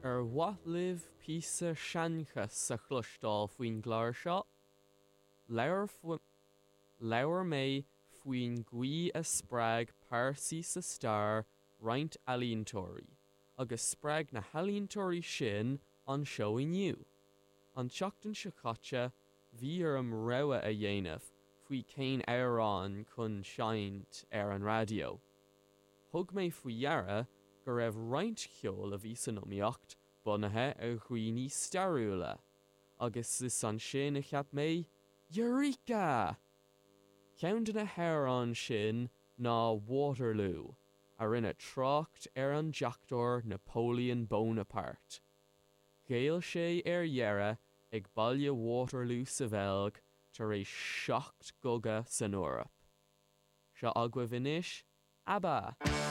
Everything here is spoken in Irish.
Ar mhaith libh píosa seanchas a chloisteáil faoin gclár seo? Labhair Labhair mé faoin gcaoi a spreag pearsaí sa stair roinnt ealaíontóirí, agus spreag na healaíontóirí sin an seó inniu. An tseachtain seo caite, bhí orm rogha a dhéanamh faoi cén amhrán chun seinnt ar an raidió. Thug mé faoi dheara go raibh roinnt cheoil a bhí san iomaíocht bunaithe ar dhaoine stairiúla, agus is ansin a cheap mé, Eureka! Ceann de na hamhráin sin ná Waterloo, a rinne trácht ar an deachtóir Napoleon Bonaparte. Ghéill sé ar dheireadh ag baile Waterloo sa Bheilg tar éis 7 gcogadh san Eoraip. Seo agaibh anois ABBA!